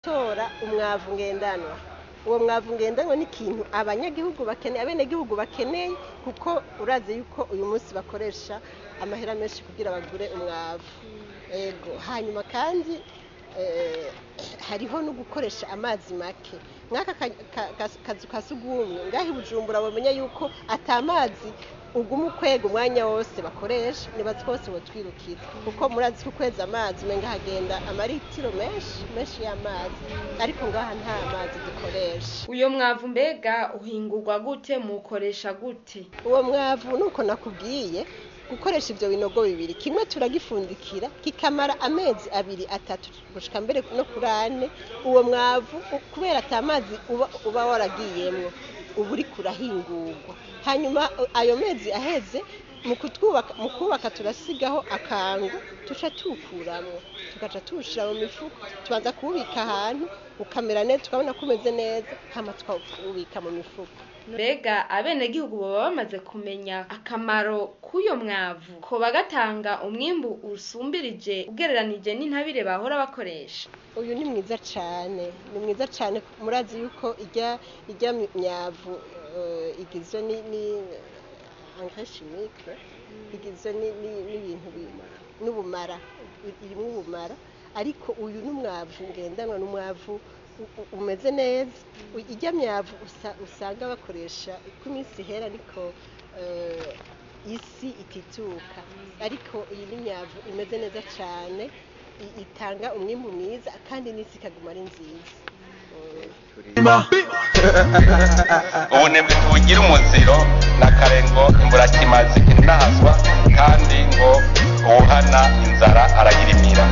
Gutora umwavu ngendanwa. Uwo mwavu ngendanwa ni ikintu abanyagihugu bakeneye, abenegihugu bakeneye, kuko urazi yuko uyu munsi bakoresha amahera menshi kugira bagure umwavu. Ego, hanyuma kandi hariho no gukoresha amazi make. Nk'aka kazu ka sugumwe ngaha i Bujumbura bomenya yuko ata mazi uguma ukwega umwanya wose bakoresha, nibaza ko bose botwirukira, kuko murazi ko ukweza amazi umenga hagenda amaritiro menshi menshi y'amazi, ariko ngaha nta mazi dukoresha. Uyo mwavu mbega uhingurwa gute, muwukoresha gute? Uwo mwavu nuko nakubwiye, gukoresha ivyo binogo bibiri, kimwe turagifundikira kikamara amezi 2, 3 gushika mbere no kuri 4. Uwo mwavu kubera ata mazi uba waragiyemwo, uba uriko urahingurwa. Hanyuma ayo mezi aheze, mu kubaka turasigaho akangu tuca tuwukuramwo, tugaca tuwushira mu mifuko. Tubanza kuwubika ahantu ukamera neza, tukabona ko umeze neza, hama tukawubika mu mifuko. Mbega abenegihugu boba bamaze kumenya akamaro k'uyo mwavu, ko bagatanga umwimbu usumbirije ugereranije n'intabire bahora bakoresha? Uyu ni mwiza cane, ni mwiza cane. Murazi yuko irya myavu igizwe ni engrais chimique, igizwe n'ibintu n'ubumara, irimwo ubumara, ariko uyu n'umwavu ngendanwa, n'umwavu umeze neza. Irya myavu usanga bakoresha uko iminsi ihera niko isi itituka, ariko iyi ni imyavu imeze neza cane, itanga umwimbu mwiza kandi n'isi ikaguma ari nziza. Ubunebwe tubugira umuziro na kare ngo imburakimazi inahazwa, kandi ngo uwuhana inzara arayirimira.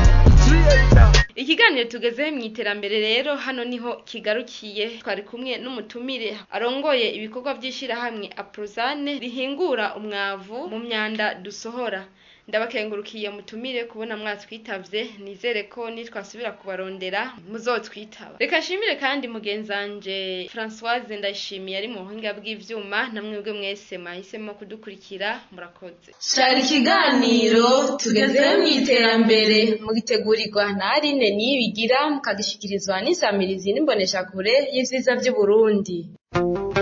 Ikiganiro tugezeho mu iterambere rero hano niho kigarukiye. Twari kumwe n'umutumire arongoye ibikorwa by'ishirahamwe Aprozane rihingura umwavu mu myanda dusohora. Ndabakengurukiye mutumire kubona mwatwitavye, nizere ko nitwasubira kubarondera muzotwitaba. Reka nshimire kandi mugenzanje Françoise Ndayishimiye ari mu buhinga bw'ivyuma, namwebwe mwese mwahisemo kudukurikira, murakoze. Shara ikiganiro tugezeho mu iterambere mugitegurirwa na Aline Niyibigira, mukagishikirizwa n'isamirizi n'imboneshakure y'ivyiza vy'Uburundi.